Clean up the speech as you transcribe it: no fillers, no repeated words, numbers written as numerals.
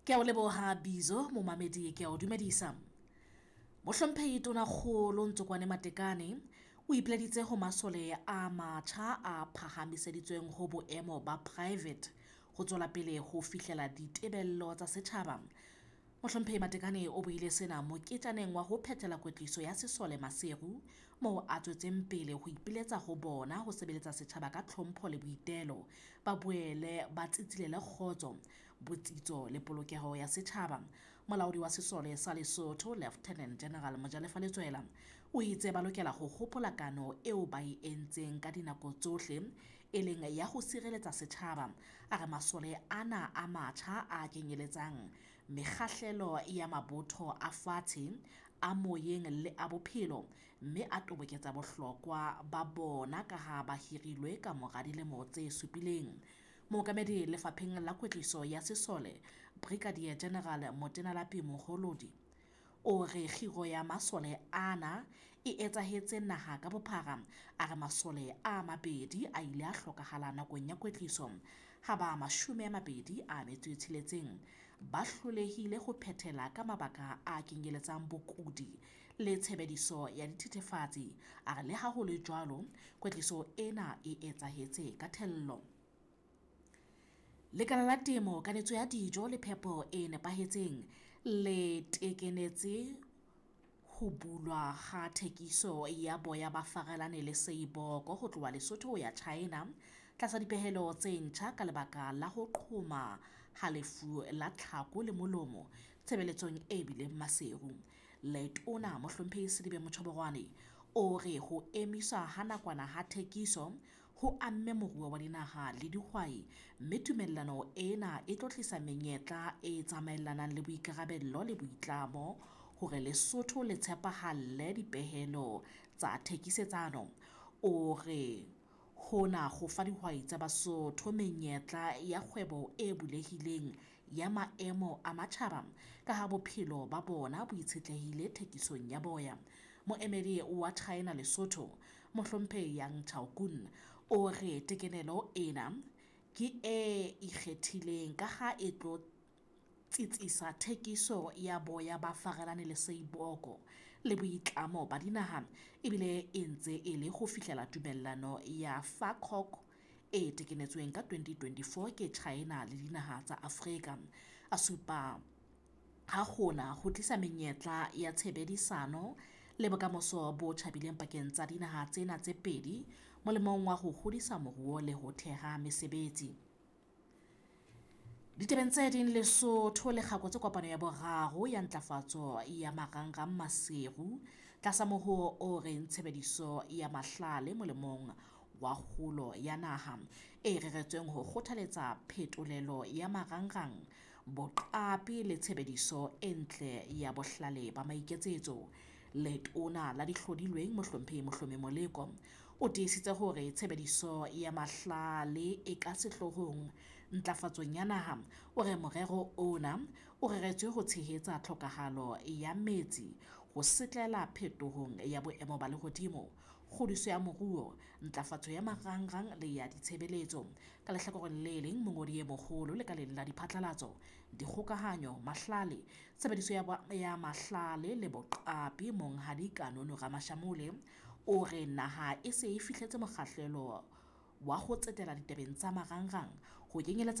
Ke a o leboha Bizo, momamedi ke a o dumedisa. Mohlomphehi Tonakgolo Ntsokoane Matekane o ipileditse ho masole a matjha a phahamiseditsweng ho boemo ba private ho tswela pele ho fihlela ditebello tsa setjhaba. Mohlomphehi Matekane o buile sena moketjaneng wa ho phethela kwetliso ya sesole Maseru, moo a tswetseng pele ho ipiletsa ho bona ho sebeletsa setjhaba ka tlhompho le boitelo, ba boele ba tsitsilele kgotso, botsitso le polokeho ya setjhaba. Molaodi wa sesole sa Lesotho Lieutenant General Mojalefa Letsoela o itse ba lokela ho hopola kano eo ba e entseng ka dinako tsohle, e leng ya ho sireletsa setjhaba. A re masole ana a matjha a kenyeletsang mekgahlelo ya mabotho a fatshe, a moyeng le a bophelo, mme a toboketsa bohlokwa ba bona ka ha ba hirilwe ka mora dilemo tse supileng. Mookamedi lefapheng la kwetliso ya sesole Brigadier General Motenalapi Moholodi o re kgiro ya masole ana e etsahetse naha ka bophara. A re masole a mabedi a ile a hlokahala nakong ya kwetliso, ha ba 26 ba hlolehile ho phethela ka mabaka a kenyeletsang bokudi le tshebediso ya dithethefatsi. A re le ha ho le jwalo, kwetliso ena e etsahetse ka thello. Lekala la Temo, Kanetso ya Dijo le Phepo e Nepahetseng le tekenetse ho bulwa ha thekiso ya boya ba farelane le seiboko ho tloha Lesotho ho ya China tlasa dipehelo tse ntjha ka lebaka la ho qhoma ha lefu la tlhako le molomo tshebeletsong e bileng Maseru. Letona Mohlomphehi Selibe Mochoboroane o re ho emiswa ha nakwana ha thekiso ho amme moruo wa dinaha le dihwai, mme tumellano ena e tlo tlisa menyetla e tsamaelanang le boikarabello le boitlamo hore Lesotho le tshepahalle dipehelo tsa thekisetsano. O re hona ho fa dihwai tsa Basotho menyetla ya kgwebo e bulehileng ya maemo a matjhaba ka ha bophelo ba bona bo itshetlehile thekisong ya boya. Moemedi wa China Lesotho Mohlomphehi Yang Chaokun o re tekenelo ena ke e ikgethileng ka ha e tlo tsitsisa thekiso ya boya ba farelane le seiboko le boitlamo ba dinaha, ebile e ntse e le ho fihlela tumellano ya FACOG e tekenetsweng ka 2024 ke China le dinaha tsa Afrika. A supa ha hona ho tlisa menyetla ya tshebedisano le bokamoso bo tjhabileng pakeng tsa dinaha tsena tse pedi molemong wa ho hodisa moruo le ho theha mesebetsi. Ditabeng tse ding, Lesotho le kgakotse kopano ya boraro ya ntlafatso ya marangrang Maseru tlasa mohoo o reng tshebediso ya mahlale molemong wa kgolo ya naha, e reretsweng ho kgothaletsa phetolelo ya marangrang, boqapi le tshebediso e ntle ya bohlale ba maiketsetso. Letona la dihlodilweng Mohlomphehi Mohlomi Moleko o tiisitse hore tshebediso ya mahlale e ka sehloohong ntlafatsong ya naha. O re morero ona o reretswe ho tshehetsa tlhokahalo ya metsi, ho setlela phetohong ya boemo ba lehodimo, kgodiso ya moruo, ntlafatso ya marangrang le ya ditshebeletso. Ka lehlakoreng le leng, mongodi e moholo lekaleng la diphatlalatso, dikgokahanyo, mahlale, tshebediso ya mahlale le boqapi Monghadi Kanono Ramashamole o re naha e se e fihletse mokgahlelo wa ho tsetela ditabeng tsa marangrang ho kenyeletsa